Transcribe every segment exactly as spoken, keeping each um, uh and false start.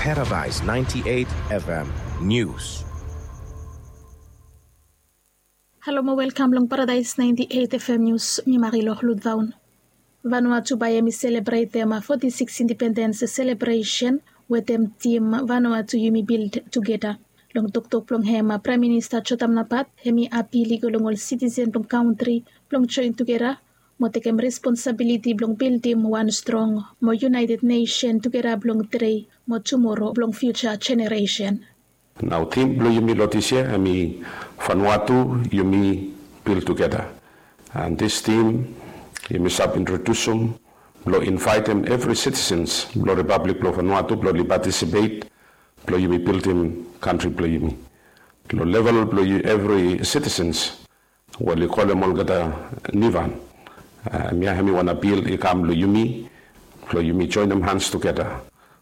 Paradise ninety-eight F M News. Halo mo welkam long Paradise ninety-eight F M News, mi Marilou Ludvaun. Vanuatu bae hemi selebretem forty-six independens selebresen wetem tim Vanuatu yumi bild tugeta. Long toktok blong hem, Praem Minista Jotam Napat hemi apil i go long ol sitisen blong kantri blong joen tugeta mo tekem responsabiliti blong bildim wan strong mo yunaeted nesen tugeta blong tedei mo tumoro blong fiuja jeneresen. Nao tim blong yumi long dis yia hemi Vanuatu yumi bild tugeta. And dis tim yumi save introdusum blong invaetem evri sitisens blong Ripablik blong Vanuatu blong oli patisipet blong yumi bildim kantri blong yumi. Long level blong evri sitisens we oli kolem olgeta Nivan. Hemia hemi wan apil i kam long yumi blong yumi joenem hans tugeta.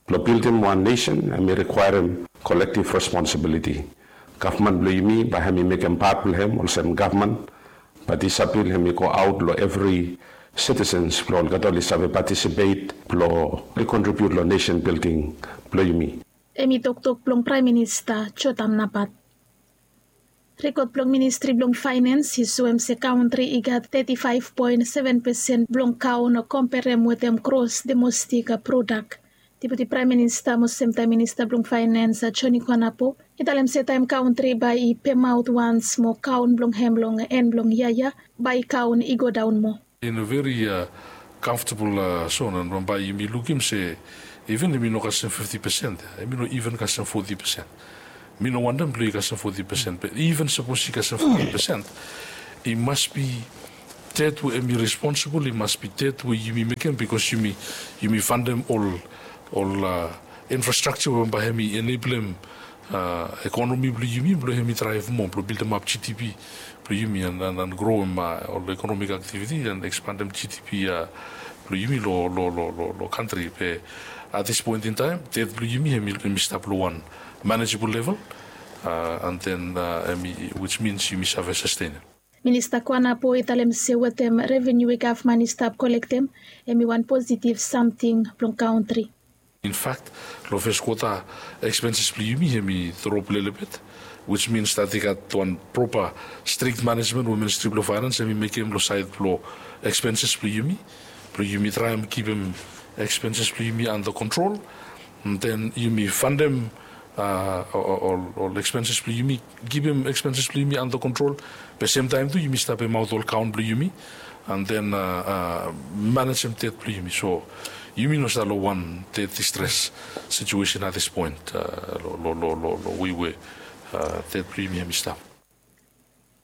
Blong bildim wan nesen hemi rikwaerem kolektiv responsibiliti. Gavman blong yumi bae hemi mekem pat blong hem olsem gavman, bat dis apil hemi go aot long evri sitisens blong olgeta oli save patisipet blong oli kontribiut long nesen bilding blong yumi. Hemi toktok blong Praem Minista Jotam Napat. Rekod blong Ministri blong Faenens i soem se kantri i gat teti faef poen seven pesen blong kaon komperem wetem gros domestik prodak. Deputi Praem Minista mo semtaem Minista blong Faenens, Joni Kuanapo, i talem se taem kantri bae i pemaot wans mo kaon blong hem long en blong yia ya, bae kaon i godaon moa. In a very comfortable zone, and bambae yumi lukim se even hemi no kasem fifti pesen, hemi no even kasem foti pesen. Mi no wantem blong i kasem foti pesen, be even sapos i kasem foti pesen, i mas bi ted we hemi responsibol, i mas bi ted we yumi mekem, bikos yumi yumi fantem ol ol infrastrakja we bambae hemi eneblem ekonomi blong yumi blong hemi draev moa blong bildemap GDP blong yumi and groem ol ekonomik aktiviti and ekspandem GDP blong yumi long kantri. Be at this point in time, ted blong yumi hemi stap long wan manejebol level, and then hemi which means yumi save sastenem. Minista Kuanapo i talem se wetem reveniu we gavman i stap kolektem, hemi wan positiv samting blong kantri. In fact, long fes kwota, ekspenses blong yumi hemi drop lelebet, which means that i gat wan propa strik manejmen we Ministri blong Faenens hemi mekem long saed blong ekspenses blong yumi, blong yumi traem kipim ekspenses blong yumi anda kontrol, and then yumi fantem ol ekspenses blong yumi, kipim ekspenses blong yumi anda kontrol. Be semtaem tu yumi stap pemaot ol kaon blong yumi and then manejem ted blong yumi. So yumi no stap long wan ted distres situesen at this point long wei we ted blong yumi hemi stap.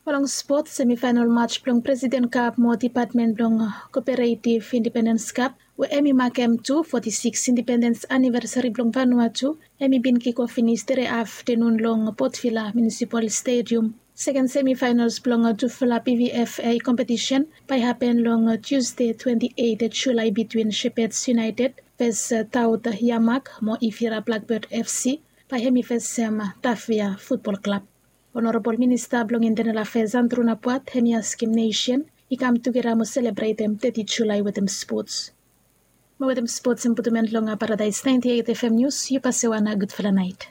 Mo long spot, semifaenol maj blong Presiden Kap mo dipatmen blong Koperetiv Independens Kap we hemi makem tu foti sikis independens anivesari blong Vanuatu, hemi bin kikof finis tede aftenun long Port Vila Munisipal Stedium. Seken semifaenols blong tufala PVFA kompetisen bae hapen long Tusde twenti eit Julae bitwin Shepherds United ves Taut Yamak mo Ifira Blackbird FC, bae hemi fesem Tafea Futbol Klab. Onorabol Minista blong Intenal Afeas Andru Napuat hemi askem nesen i kam tugeta mo selebretem teti Julae wetem spots. Mo wetem spots hem putum en long Paradaes naenti eit FM Nius. Yu pase wan gudfala naet.